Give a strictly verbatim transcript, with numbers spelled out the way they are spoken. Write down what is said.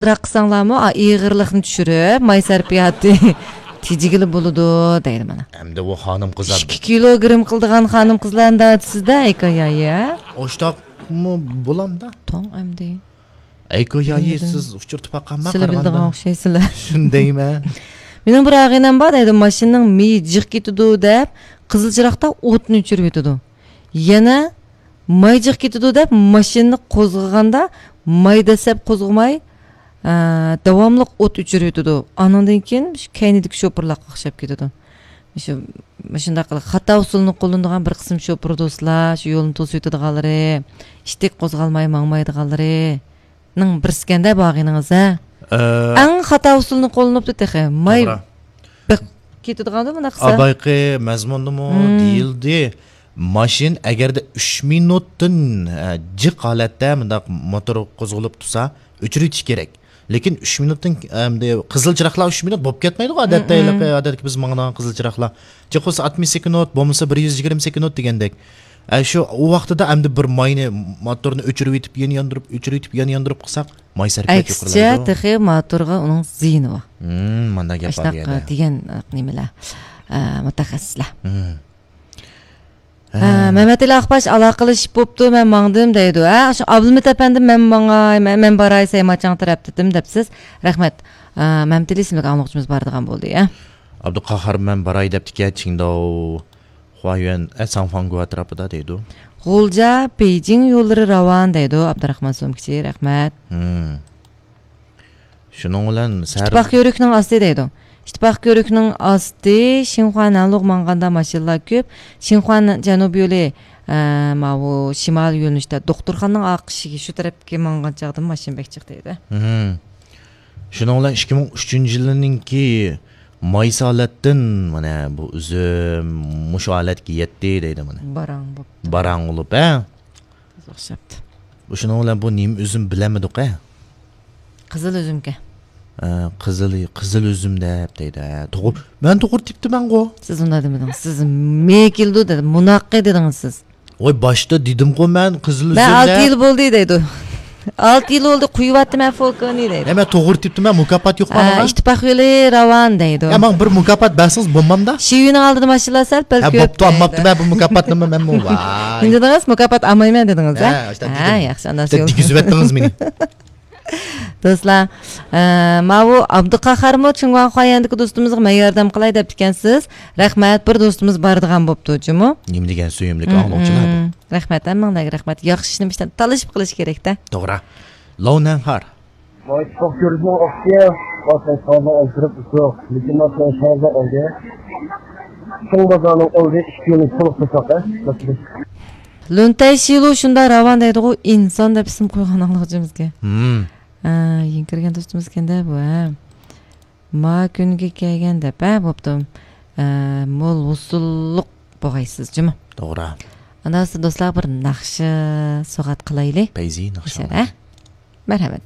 ئازراق قىلساڭلارمۇ، ئا، ئېغىرلىقنى چۈشۈرۈپ، ماي سەرپىياتى تېجىگىلى بولىدۇ، دەيدۇ مانا. ئەمدى ئۇ خانىم قىز ئىككى كىلوگرام قىلىدىغان خانىم قىزلارنى دەۋاتىسىز-دە، ھېكايە. ئوشتاقمۇ بولامدا؟ توڭ ئەمدى. ئەيكو يايى، سىز ئۇچۇرتىپ باققانما سىلە بىلىدىغان قارىغاندا؟ ئوخشايسىلەر. شۇندايمەن. مېنىڭ بىر ئاغىنەم بار دەيدۇ، ماشىنىنىڭ مېيى جىق كېتىدۇ دەپ، قىزىل چىراغدا ئوتنى ئۆچۈرۈۋېتىدۇ. يەنە ماي جىق كېتىدۇ دەپ، ماشىنىنى قوزغىغاندا ماي دەسسەپ قوزغىماي، ئە، داۋاملىق ئوت ئۆچۈرۈۋېتىدۇ. ئانىڭدىن كېيىن شۇ كەينىدىكى شوپۇرلارغا ئوخشاپ كېتىدۇ. شۇ، مۇشۇنداق قىلىپ خاتا ئۇسۇلنى قوللىنىدىغان بىر قىسىم شوپۇر دوستلار، شۇ يولنى توسۇۋېتىدىغانلىرى، ئىتتىك قوزغالماي ماڭمايدىغانلىرىنىڭ بىرسىكەندە بۇ ئاغىنىڭىز، ھە؟ ئە، ئەڭ خاتا ئۇسۇلنى قوللىنىپتۇ تېخى. ماي توغرا. بېقىپ كېتىدىغاندۇ بۇنداق قىلسا. ئابايقى مەزمۇندىمۇ دېيىلدى. ماشىنا ئەگەردە ئۈچ مىنۇتتىن، ئە، جىق ھالەتتە مۇنداق موتور قوزغىلىپ تۇرسا، ئۆچۈرۈۋېتىش كېرەك. لېكىن ئۈچ مىنۇتتىن، ئەمدى قىزىل چىراغلار ئۈچ مىنۇت بولۇپ كەتمەيدىغۇ، ئادەتتە، ھېلىقى ئادەتتىكى بىز ماڭىدىغان قىزىل چىراغلار. جىق بولسا ئاتمىش سېكۇنت، بولمىسا بىر يۈز يىگىرمە سېكۇنت دېگەندەك. ئە، شۇ، ئۇ ۋاقتىدا ئەمدى بىر ماينى، موتورنى ئۆچۈرۈۋېتىپ، يەنە ياندۇرۇپ، ئۆچۈرۈۋېتىپ، يەنە ياندۇرۇپ قىلساق، ماي سەرپىياتى ئەكسىچە، يۇقىرىلايدۇ. تېخى موتورغا ئۇنىڭ زىيىنى بار. ھىم، مانداق گەپ بار ئاشۇنداق بۇ يەردە. دېگەن نېمىلەر، ئە، مۇتەخەسسىسلەر. ھىم. ھە، ھە. مەمەتئېلى ئاقباش ئالاقىلىشىپ بوپتۇ، مەن ماڭدىم دەيدۇ. ھە، شۇ ئابلىمىت ئەپەندىم، مەن ماڭاي، مەن، مەن باراي سەيماچاڭ تەرەپتىتىم دەپسىز. رەھمەت. ھە، مەمەتئېلى ئىسىملىك ئاڭلىغۇچىمىز بارىدىغان بولدى، ھە. ئابدۇقاھار، مەن باراي دەپتىكەن، چىڭداۋ، خۇايۈەن، ئە، ساڭفاڭگۇ ئەتراپىدا دەيدۇ. غۇلجا، بېيجىڭ يوللىرى راۋان دەيدۇ، ئابدۇراخمان سومكىچى، رەھمەت. ھىم. شۇنىڭ بىلەن سەھەر ئىتتىپاق كۆۋرۈكنىڭ ئاستى دەيدۇ. ئىتتىپاق كۆۋرۈكنىڭ ئاستى، شىنخۇا نەنلۇغ ماڭغاندا ماشىنىلار كۆپ. شىنخۇا جەنۇب يولى، ئە، ماۋۇ شىمال يۆنىلىشتە دوختۇرخانىنىڭ ئارقا ئىشىكى شۇ تەرەپكە ماڭغان چاغدا ماشىنا بەك جىق دەيدۇ. ھىم. شۇنىڭ بىلەن ئىككى مىڭ ئۈچىنچى يىلىنىڭكى مايسى ھالەتتىن مانا بۇ ئۈزۈم مۇشۇ ھالەتكە يەتتى دەيدۇ مانا. باراڭ بوپتۇ. باراڭ بولۇپ، ھە؟ ئوخشاپتۇ. شۇنىڭ بىلەن بۇ نېمە ئۈزۈم بىلەلمىدۇق، ھە؟ قىزىل ئۈزۈمكەن. ئە، قىزىل، قىزىل ئۈزۈم دەپ دەيدۇ، ھە. توغرا. مەن توغرا تېپىپتىمەنغۇ. سىز ئۇنداق دېمىدىڭىز. سىز مېيى كېلىدۇ دېدىم، مۇناقى دېدىڭىز سىز. ۋاي، باشتا دېدىمغۇ مەن قىزىل ئۈزۈم دەپ. مەن ئالتە يىل بولدى دەيدۇ. ئالتە يىل بولدى، قۇيۇۋاتتىم مەن فولكىنى دەيدۇ. ھە، مەن توغرا تېپىپتىمەن، مۇكاپات يوق ھە، ماڭا. ئىتتىپاق يولى راۋان دەيدۇ. ھە، ماڭا بىر مۇكاپات بەرسىڭىز بولمامدا؟ شىۋىنىڭ ئالدىدا ماشىنىلار سەل پەل ھە، كۆپ بوپتۇ، دەيدۇ. ئالماپتىمەن بۇ مۇكاپاتنىمۇ مەنمۇ. ۋاي. نېمە دېدىڭىز؟ مۇكاپات ئالمايمەن دېدىڭىز، ھە؟ ھە، ئاشۇنداق ھە، دېدىم. ياخشى، ئانداق دېگۈزۈۋەتتىڭىز مېنى. دوستلار، ئە، ماۋۇ ئابدۇقاھارمۇ چىڭگۇاڭخۇا يېنىدىكى دوستىمىزغا مەن ياردەم قىلاي دەپتىكەنسىز. رەھمەت، بىر دوستىمىز بارىدىغان بوپتۇ جۇمۇ. نېمە دېگەن سۆيۈملۈك ئاڭلىغۇچىلار بۇ. رەھمەت، ھەممىڭلارغا رەھمەت. ياخشى ئىشنى بىشتان تالىشىپ قىلىش كېرەكتە. توغرا. لو نەنخار. مايتىپاق كۆرۈزنىڭ ئوقىسى، باسقان ساغدا ئولتۇرۇپ ئۇسۇ، لېكىن ماسنىڭ شاردا ئالدى. چوڭ بازارنىڭ ئالدى ئىككى يولى سول قورساق، ھە؟ لۈنتەي شىلۇ شۇنداق راۋان دەيدىغۇ، ئىنسان دەپ ئىسىم قويغان ئاڭلىغۇچىمىزگە. ھىم. ئە، يېڭى كىرگەن دوستىمىزكەن-دە بۇ، ھە. ما كۈنگە كەلگەن دەپ، ھە، بوپتۇ. ئە، مول ھوسۇللۇق بولغايسىز جۇمۇ. توغرا. ئاندىن دوستلار بىر ناخشا سوغات قىلايلى. پەيزى ناخشا. ھە؟ مەرھەمەت.